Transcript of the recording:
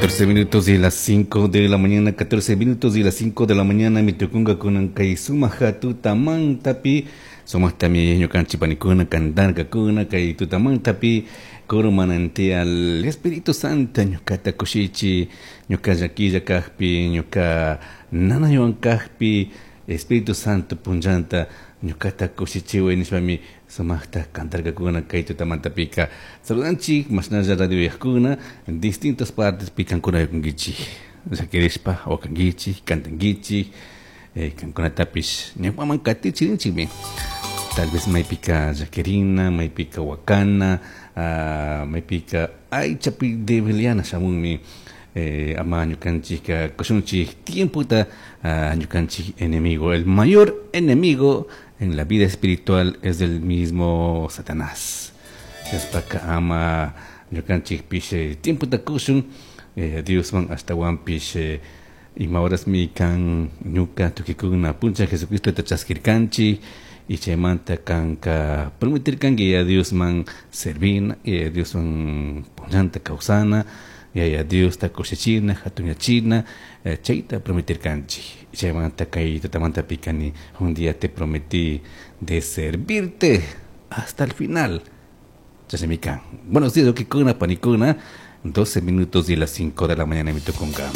14 minutos y las 5 de la mañana, 14 minutos y las 5 de la mañana, mitukunga kunan kay sumaja tutamantapi, sumaqtami ñukanchik panikuna cantarkakuna kay tutamantapi, coro manantial Espíritu Santo ñukata kushichi, ñuka llaquilla kajpi, ñuka nanaywan kajpi, Espíritu Santo punllanta ñukata kushichiway nishpami sumaqta cantarkakuna kay tutamantapika. Saludanchik mashnalla radio yajkuna en distintas partes pikankuna yakunkichik llakirishpa wakankichik cantankichik kankunatapish ñawpaman katichirinchikmi. Tal vez maypika llakirina, maypika wakana, maypika aychapi debiliana shamunmi ama ñukanchik kushunchik tiempota ñukanchik enemigo. El mayor enemigo en la vida espiritual es el mismo Satanás. Chashpaka ama ñukanchikpish tiempota kushun Diosman ashtawanpish ima horasmi kan ñuka tukikuna puncha Jesucristota chaskirkanchik y chaymanta kanka prometirkanki Yaya Diosman servina, Yaya Dioswan punllanta kawsana, Yaya Diosta kushichina, hatunyachina, chayta prometirkanchik. Chaymanta kay tutamantapi kani un día te prometí de servirte hasta el final. Chashnami kan. Buenos días, ukikuna, panikuna. 12 minutos y las 5 de la mañana, mitukunga.